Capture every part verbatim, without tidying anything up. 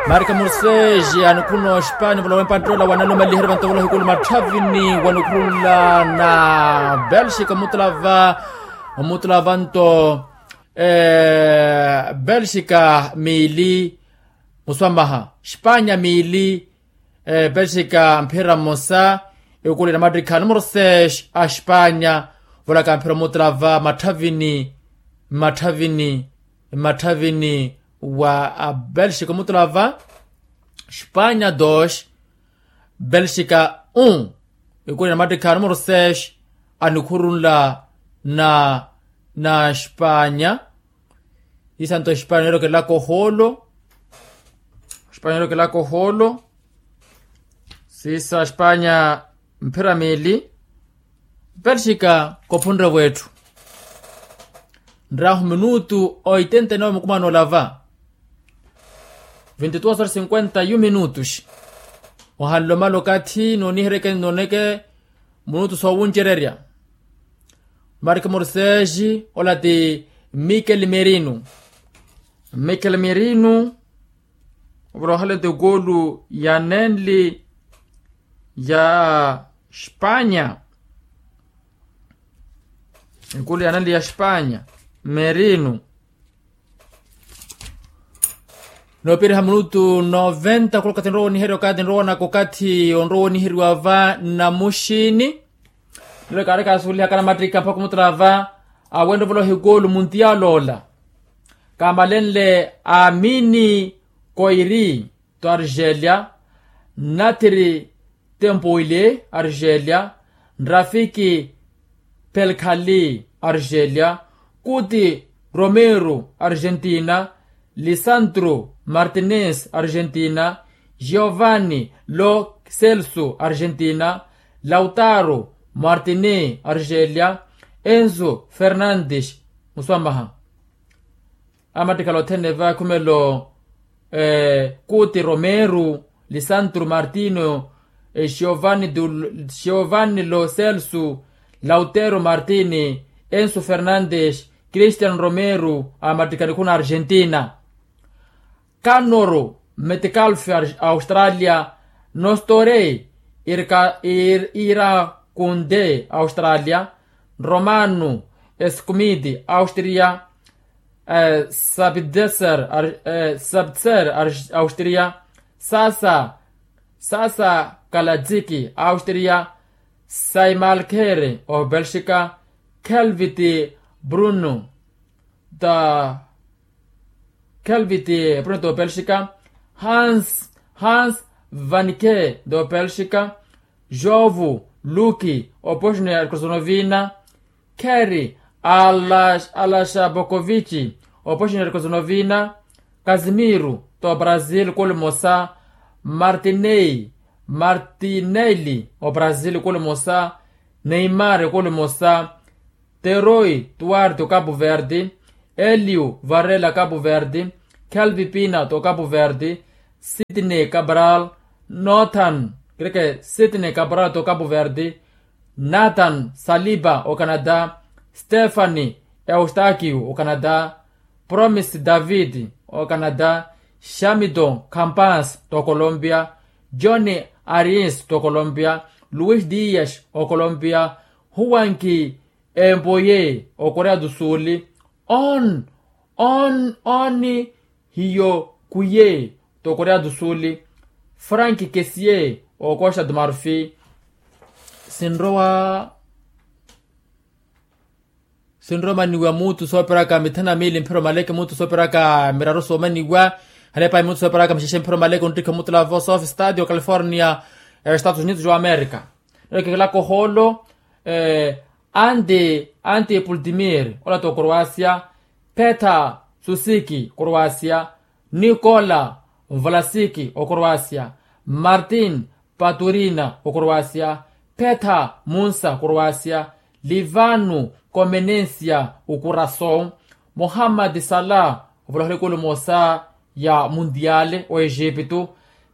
Marika morseji anikhuruna oxipani volowa empanttela wanalumaliherya vanto volowa hikulu matthavini wanikhurula na belxika omutulava omutulava nto belxika miili muswamaha xipanya miili belxika mphira mmosa ikuli na mattikha numero seis a xipanya volaka mphira omutulava matthavini mmatthavini mmatthavini wa belxika omutulava xipanya dos belxika un ikuli na mattikha numero seis anikhurunla na na xipanya. Isanto xipanya neerokelaka ohoolo xipanya neerokelaka ohoolo siisa xipanya mphira miili. Belxika kophunre wetthu nrahu minutu oitenta e nove mukumano olava vintituas horas cinquenta yu minutus. Ohanlomala okathi nooniheryeke nooneke minutu soowuncererya. Marika morseji ola ti mikel merino mikel merino ovolowa ohale ti ekulu ya nenli ya xipanya. Ekulu ya nenli ya xipanya merino noopiriha minutu noventa khula okathi nrowa oniherya okathi nrowa onaka okathi onrowa oniheriwa va nnamuxini. Nlole kaari kaasuwelihaka namattikha mpakha omutulava awenre ovolowa hikulu muntiyala ola kaamalenle amini koiri to argelia nathiri tempoile argelia nrafiki pelkhali argelia kuti romero argentina lisantro martinez argentina giovanni lo celso argentina lautaro martini argelia enso fernandes muswamaha. Amattikhala othene va khumelo kuti romero lisantro martino giovanni lo celso lautero martini enso fernandes cristian romero amattikha nikhuna argentina. Kanoro metcalfe australia nostore irakunde australia romano escumidi austria sabitzer austria sasa sasa kaladziki austria saimalkhere o belxika kelviti bruno da kelviti bruno do belxika hans hans vanike do belxika jovu luki o bosnia herzegovina kheri alashabokovici o bosnia herzegovina kazimiru do brazil kuli mosa martinei martineli o brazil kuli mosa neimar kuli mosa teroi tuarte o capu verde eliu varela capu verde kelvi pina to capu verde sitney cabral nothan kireke sitney cabral to capu verde nathan saliba o canada stefani eustakiu o canada promis david o canada xamidon campans to colombia joni arins to colombia luis dias o colombia huwanki empoye o korea do sul on on oni hiyo kuye to korea do sul frank kesie o costa do marfi sinrowa sinromaniwa mutu soopiraka mithanu na miili mphiro maleke mutu soopiraka miraru soomaniwa halepahi mutu soopiraka mixexe mphiro maleke onttikha omutulavo sofi stadio california estados unidos wa america nilekekela kohoolo anti anti pultimir ola to croasia petha susiki croasia nikola valasiki o croasia martin paturina o croasia petha munsa croasia livanu comenencia o corason mohammad salah ovolohela ekulu mosa ya mundiale o egipto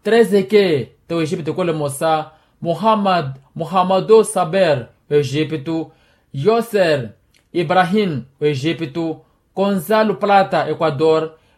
trezeke to egipto ekulu mosa mohammad mohammado saber o egipto yoser ibrahim o egipto gonzalo plata equador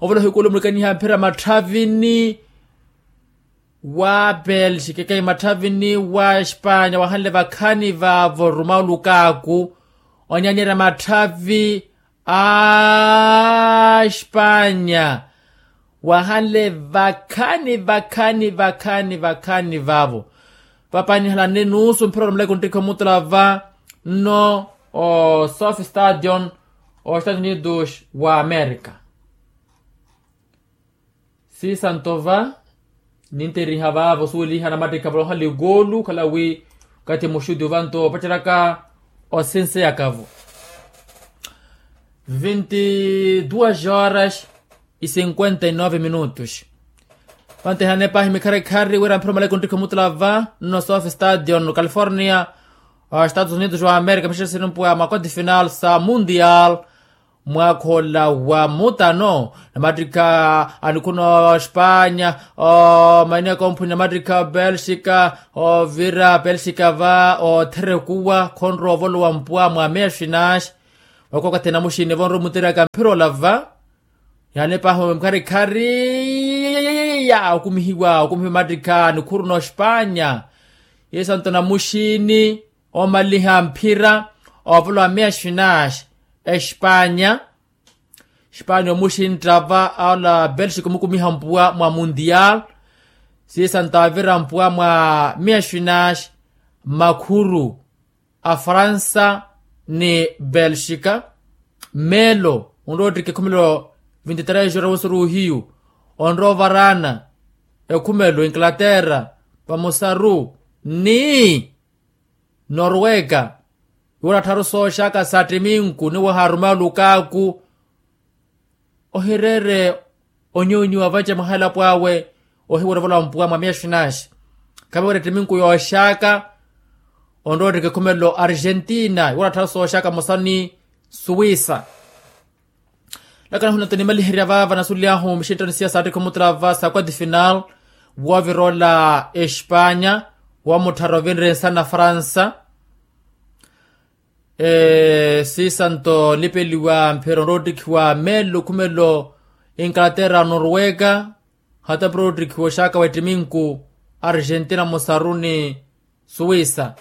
Ovoloha ikulu mulikaniha mphira matthavini wa pelxika ekayi matthavini wa espanya wahanle vakhani vaavo ruma olukaaku. Onyanyeerya matthavi a espanya wahanle vakhani vakhani vakhani vakhani vaavo. Vapanihalani nuusu mphira orumeleke onttikhi omutula va nno o south stadion o estados unidos wa america. Siisanto va ninteriha vaavo suweliha namattikha voloha likoolu khala wi okathi muxuti ovanto opaceraka osinse yakavo. Vinti duas horas e cinquenta e nove minutos. Vantehanepahi mikharikhariri wira mphira omaleke onttikhi omutula va nno south stadion california, estados unidos wa america mixexe sinimpwa makoti final sa mundial. Mwaakha ola wa mutano namattikha a nikhuna ospanya, omaini akomphuni namattikha belxika ovira belxika va otherekuwa khonrowa ovolowa mpwa mwa meya xinaxi. Waka okathi namuxini vonrowa omuteraka mphira ola va. Yanepaho mkharikhari ya okumihiwa okumihiwa mattikha nikhuru n'ospanya. Yesanto namuxini omaliha mphira ovolowa meya xinaxi. Espanya. Espanya omuxintta va aola belxika omukumiha mpuwa mwa mundial. Siisanto avira mpuwa mwa meya xinaxi. Makhuru a fransa ni belxika. Melo onrowa ottikha ekhumelo vinti tres ora wosuru ohiyu. Onrowa ovarana ekhumelo inglaterra vamosaru ni norwega. Iwo orattharu sooxaka sa ttiminku ni waharuma olukaaku. Ohireere onyuunyu avace mwaha elapo awe. Ohiwera ovola mpuwa mwa meya xinaxi. Khaviwera ettiminku yooxaka. Onrowa ottikha ekhumelo argentina iwo orattharu sooxaka mosa ni suwisa. Lakana hunato nimaliherya vaava nasulyahu mixinttano siya saattikha omutula va sa kwati final. Woovira ola espanya woomutthara ovinre nsana fransa. Siisanto nipeliwa mphira onrowa ottikhiwa melo khumelo inglaterra norwega. Hata mphira ottikhiwa oxaka wa ettiminku argentina mosaruni suwisa.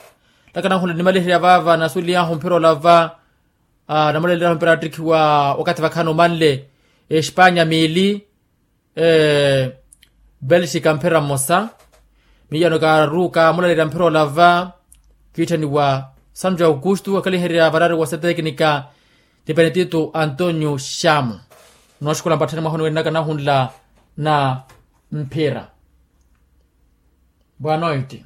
Ntakana nkhula nnimaliherya vaava nasuliyahu mphira olava. Namulaleelahu mpira attikhiwa wakathi vakhaani omanle, espanya miili, belxika mphira mmosa. Miiyano kaaruuka mulaleerya mphira olava, kiitthaniwa santu ja aukustu akaliherya varaari wa seteknika, ti penetito antonio xamu. Nooxukhula mpatthani mwaha oniwene naka nahunla na mphira. Boa noite.